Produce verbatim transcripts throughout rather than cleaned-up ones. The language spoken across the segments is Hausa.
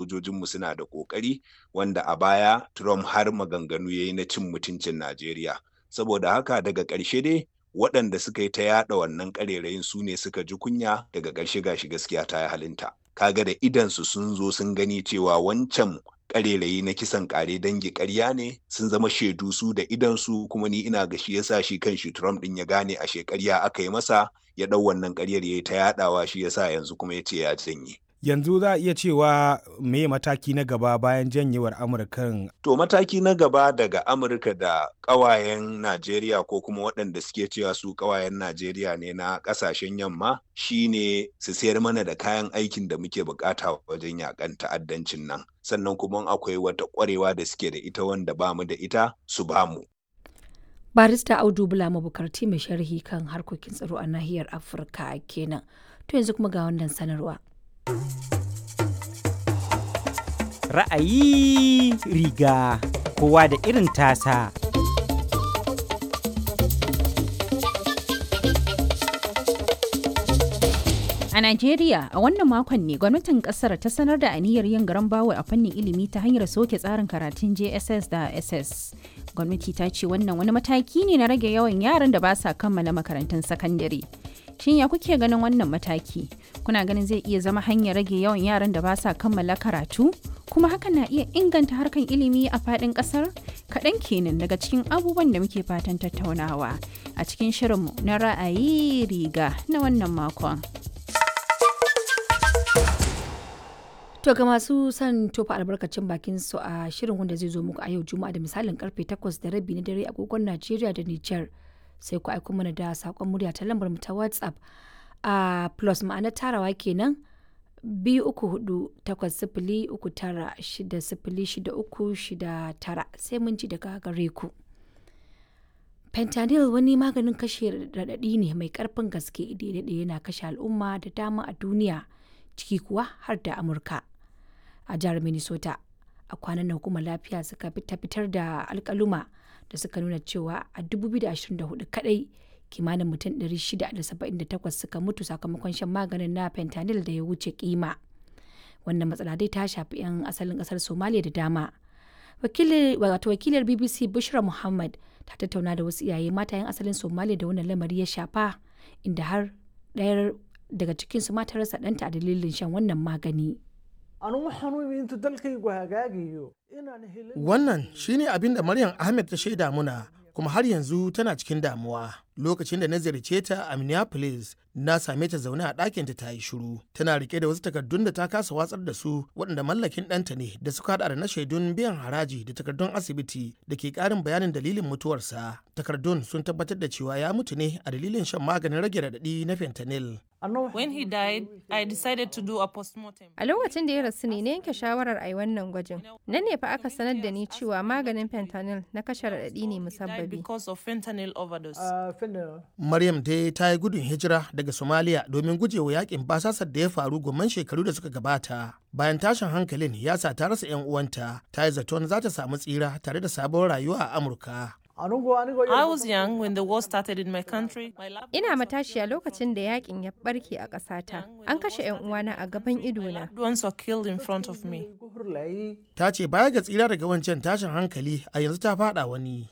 Sojojinmu suna da ƙoƙari, wanda a baya Trump har maganganu ya yi na cin mutuncin Najeriya. Saboda haka, daga ƙarshe dai waɗanda suka yi ta yaɗa wannan ƙarerayin su ne suka ji kunya. Daga ƙarshe gashi gaskiya ta yi halinta. Kaga da idansu sun zo sun gani cewa wancan ƙarerayi na kisan ƙare dangi ƙarya ne. Sun zama shaidu su da idansu. Kuma ni ina ga shi yasa shi kan shi Trump ɗin ya gane ashe ƙarya aka yi masa, ya ɗau wannan ƙaryar ya yi ta yaɗawa. Shi yasa yanzu kuma ya ce ya janye. Yanzu za a iya cewa me mataki na gaba bayan janyewar Amurkan? To, mataki na gaba daga Amurka da ƙawayen Najeriya, ko kuma waɗanda suke cewa su ƙawayen Najeriya ne na ƙasashen yamma, shine su sayar mana da kayan aikin da muke bukata wajen yakan ta'addancin nan. Sannan kuma akwai wata ƙwarewa da suke da ita wanda bamu da ita, su bamu. Barista Audu Bula Mabukarti, mai sharhi kan harkokin tsaro a nahiyar Afirka kenan. To, yanzu kuma ga wannan sanarwa. Ra'ayi riga, kowa da irin tasa. A Najeriya, a wannan makon ne gwamnatin kasar ta sanar da aniyar yin garan bawul a fannin ilimi ta hanyar soke tsarin karatun J S S da S S. Gwamnati ta ce wannan wani mataki ne na rage yawan yaran da ba sa kammala makarantun sakandare. Shin ya kuke ganin wannan mataki? Kuna ganin zai iya zama hanyar rage yawan yaran da ba sa kammala karatu? Kuma hakan na iya inganta harkan ilimi a faɗin ƙasar? Kaɗan kenan daga cikin abubuwan da muke fatan tattaunawa a cikin shirinmu na ra'ayi riga na wannan makon. To, ga masu son tofa albarkacin bakin su a shirin wanda zai zo muku a yau Juma'a da misalin karfe takwas da rabi na dare agogon Najeriya da Nijar, sai ku aiko mana da sakon murya ta lambar mu ta WhatsApp a plus, ma'ana tarawa kenan, biyu uku hudu takwas sifili uku tara shida sifili shida uku shida tara. Sai mun ji daga gare ku. Fentanyl wani maganin kashe raɗaɗi ne mai ƙarfin gaske da ya daɗe yana kashe al'umma da dama a duniya, ciki kuwa har da Amurka. A jihar Minnesota, a kwanan nan hukumar lafiya suka fitar da alkaluma da suka nuna cewa a dubu biyu da ashirin da huɗu kadai kimanin mutum ɗari shida da saba'in da takwas suka mutu sakamakon shan maganin na fentanyl da ya wuce kima. Wannan matsala dai ta shafi 'yan asalin kasar Somalia da dama. Wato wakilar B B C Bushra Muhammad ta tattauna da wasu iyaye mata 'yan asalin Somalia da wannan lamari ya shafa, inda har ɗayar daga cikinsu ma ta rasa ɗanta a dalilin shan wannan magani. Wannan shine abin da Maryam Ahmed ta shaida muna, kuma har yanzu tana cikin damuwa. Lokacin da na ziyarce ta a Minneapolis, na same ta zaune a ɗakinta ta yi shiru. Tana rike da wasu takardun da ta kasa watsar da su, waɗanda mallakin ɗanta ne, da suka haɗa da na shaidun biyan haraji da takardun asibiti da ke ƙarin bayanin dalilin mutuwarsa. Takardun sun tabbatar da cewa ya mutu ne a dalilin shan maganin rage raɗaɗi na fentanyl. When he died, I decided to do a postmortem. A lokacin da ya rasu ne na yanke shawarar a yi wannan gwajin. Nan ne fa aka sanar da ni cewa maganin fentanyl na kashe raɗaɗi ne musabbabi. Because of fentanyl overdose. Maryam dai ta yi gudun hijira daga Somalia domin gujewa yakin basasar da ya faru gomman shekaru da suka gabata. Bayan tashin hankalin ya sa ta rasa 'yan uwanta, ta yi zaton za ta samu tsira tare da sabon rayuwa a Amurka. I was young when the war started in my country. Ina matashiya lokacin da yakin ya barke a ƙasata. An kashe 'yan uwana a gaban idona. Loved ones were killed in front of me. Ta ce baya ga tsira daga wancan tashin hankali, a yanzu ta faɗa wani.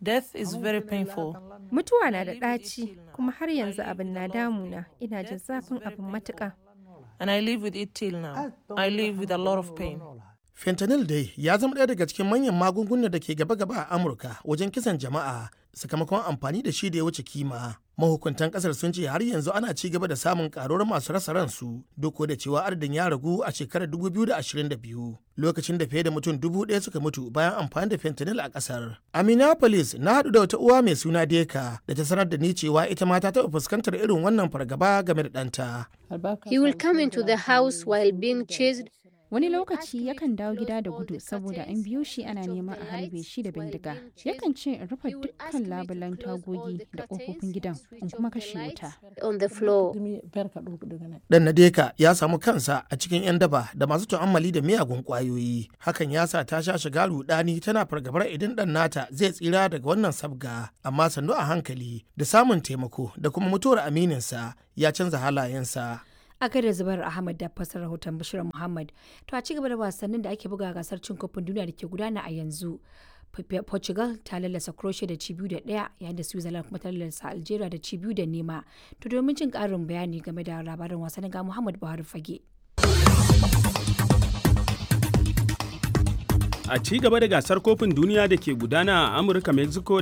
Death is very painful. Mutuwa na da ɗaci, kuma har yanzu abin na damuna. Ina jin zafin abin matuƙa. And I live with it till now. I live with a lot of pain. Fentanyl dai ya zama ɗaya daga cikin manyan magungunan da ke gaba-gaba a Amurka wajen kisan jama'a sakamakon amfani da shi da ya wuce kima. Mahukuntan kasar sun ce har yanzu ana ci gaba da samun karuwar masu rasa ransu, duk da cewa adadin ya ragu a shekarar dubu biyu da ashirin da biyu, lokacin da fiye da mutum dubu ɗaya suka mutu bayan amfani da fentanyl a kasar. A Minneapolis, na haɗu da wata uwa mai suna Deka da ta sanar da ni cewa ita ma ta taɓa fuskantar irin wannan fargaba game da ɗanta. He will come into the house while being chased. Wani lokaci yakan dawo gida da gudu saboda an biyo shi ana neman a harbe shi da bindiga. Yakan ce in rufe dukkan labulan tagogi da ƙofofin gidan, in kuma kashe wuta. On the floor. Dan Nadeka ya samu kansa a cikin 'yan daba da masu tu'ammali da miyagun ƙwayoyi. Hakan ya sa ta sha shiga rudani, tana fargabar idan ɗan nata zai tsira daga wannan sabga. Amma sannu a hankali, da samun taimako da kuma mutuwar amininsa, ya canza halayensa. A da Zubair Ahmad da fasar rahoton Bashir Muhammad. To a ci gaba da wasannin da ake buga gasar cin kofin duniya da ke gudana a yanzu. Portugal ta lallasa Croatia da ci biyu da ɗaya yayin da Switzerland kuma ta lallasa Algeria da ci biyu da nema. To domin jin ƙarin bayani game da labarin wasannin ga Muhammad Buhari Fage. A ci gaba da gasar kofin duniya da ke gudana a Amurka, Mexico da